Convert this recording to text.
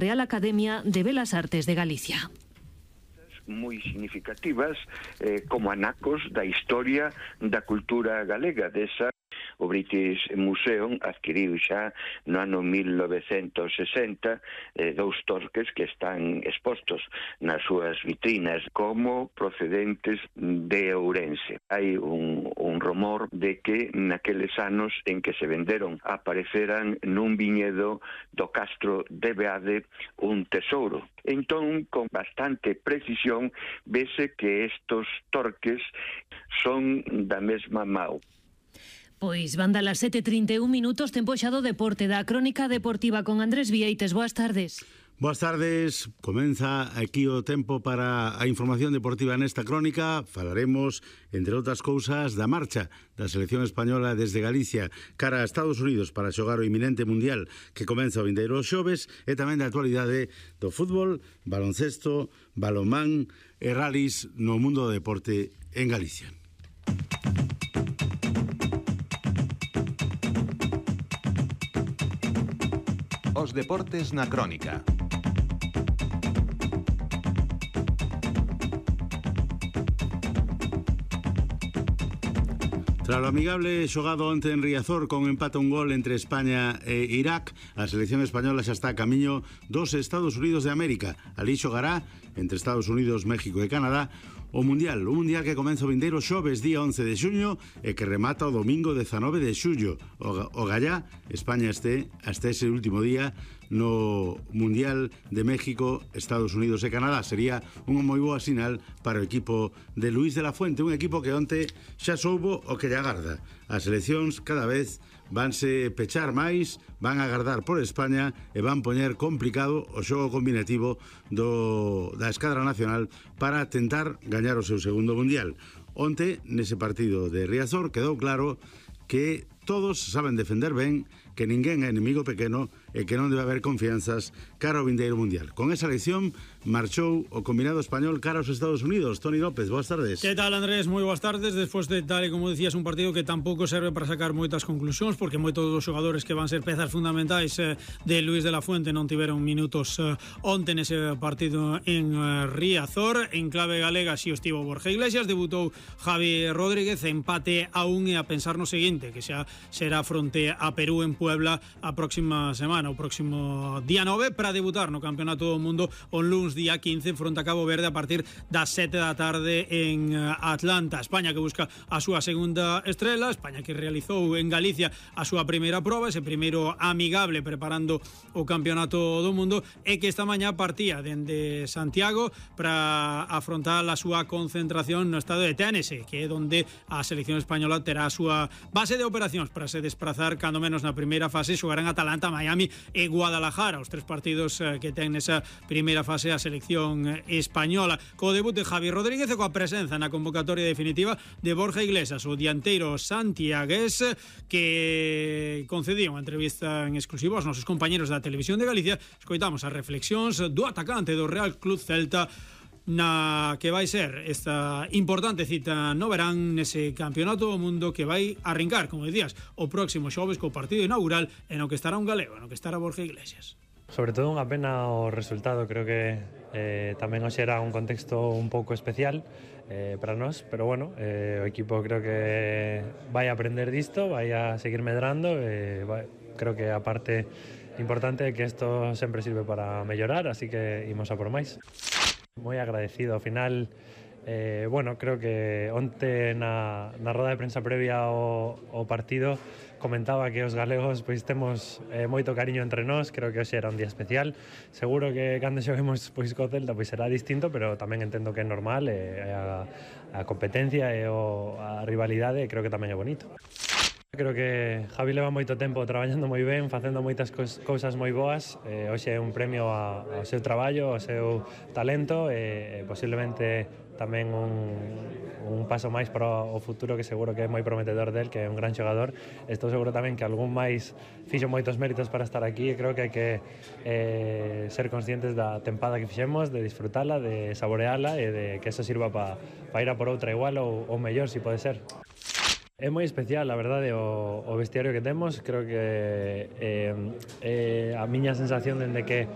Real Academia de Belas Artes de Galicia. Moi significativas como anacos da historia da cultura galega. Desa, o British Museum adquiriu xa no ano 1960 dous torques que están expostos nas súas vitrinas como procedentes de Ourense. Hai un rumor de que naqueles anos en que se venderon apareceran nun viñedo do Castro de Beade un tesouro. Entón, con bastante precisión, vese que estos torques son da mesma mau. Pois van dar as 7:31 minutos, tempo xa do deporte, da crónica deportiva con Andrés Vieites. Boas tardes. Boas tardes, comeza aquí o tempo para a información deportiva nesta crónica. Falaremos, entre outras cousas, da marcha da selección española desde Galicia cara a Estados Unidos para xogar o inminente mundial que comeza o vindeiro xoves e tamén da actualidade do fútbol, baloncesto, balonmán e rallies no mundo do deporte en Galicia. Os deportes na crónica. Tras o amigable xogado onte en Riazor con empate a un gol entre España e Irak, a selección española xa está a camiño dos Estados Unidos de América. Ali xogará entre Estados Unidos, México e Canadá o Mundial que comeza o vindeiro xoves día 11 de xuño e que remata o domingo 19 de xullo. O gallá, España hasta ese último día no Mundial de México, Estados Unidos e Canadá. Sería unha moi boa sinal para o equipo de Luís de la Fuente, un equipo que onte xa soubo o que lle agarda. As seleccións cada vez vanse pechar máis, van a agardar por España e van poñer complicado o xogo combinativo da escadra nacional para tentar gañar o seu segundo mundial. Onte, nese partido de Riazor, quedou claro que todos saben defender ben, que ninguén é enemigo pequeno e que non debe haber confianzas cara ao vindeiro mundial. Con esa elección marchou o combinado español cara aos Estados Unidos. Toni López, boas tardes. Que tal, Andrés? Moi boas tardes. Despois de, tal e como decías, un partido que tampouco serve para sacar moitas conclusións, porque moitos dos xogadores que van ser pezas fundamentais de Luís de la Fuente non tiveron minutos onte nese partido en Riazor. En clave galega si estivo Borja Iglesias, debutou Javi Rodríguez, empate a un e a pensar no seguinte, que xa será fronte a Perú en Puebla a próxima semana, o próximo día 9, para debutar no Campeonato do Mundo o luns día 15 fronte a Cabo Verde a partir das 7 da tarde en Atlanta. España que busca a súa segunda estrela, España que realizou en Galicia a súa primeira proba, ese primeiro amigable preparando o Campeonato do Mundo, e que esta mañá partía dende Santiago para afrontar a súa concentración no estado de Tennessee, que é onde a selección española terá a súa base de operacións para se desplazar cando menos na primeira fase. Xogarán Atalanta, Miami e Guadalajara, os tres partidos que ten nesa primeira fase a selección española, co debut de Javi Rodríguez e coa presenza na convocatoria definitiva de Borja Iglesias, o dianteiro santiagués, que concedía unha entrevista en exclusivo aos nosos compañeros da Televisión de Galicia. Escoitamos as reflexións do atacante do Real Club Celta na que vai ser esta importante cita no verán nese Campeonato do Mundo que vai arrincar, como decías, o próximo xoves co partido inaugural en o que estará un galego, en o que estará Borja Iglesias. Sobre todo unha pena o resultado, creo que tamén hoxe era un contexto un pouco especial para nós, pero bueno, o equipo creo que vai a aprender disto, vai a seguir medrando, creo que a parte importante é que isto sempre sirve para mellorar, así que imos a por máis. Moi agradecido, ao final bueno, creo que onte na roda de prensa previa ao partido comentaba que os galegos pois temos moito cariño entre nós. Creo que hoxe era un día especial. Seguro que cando xoguemos pois co Celta pois será distinto, pero tamén entendo que é normal, a competencia e a rivalidade creo que tamén é bonito. Creo que Javi leva moito tempo traballando moi ben, facendo moitas cousas moi boas. Hoxe é un premio ao seu traballo, ao seu talento e posiblemente tamén un paso máis para o futuro, que seguro que é moi prometedor del, que é un gran xogador. Estou seguro tamén que algún máis fixo moitos méritos para estar aquí e creo que hai que ser conscientes da tempada que fixemos, de disfrutala, de saboreala e de que eso sirva para ir a por outra igual ou mellor, si pode ser. É moi especial, a verdade, o vestiario que temos. Creo que a miña sensación dende que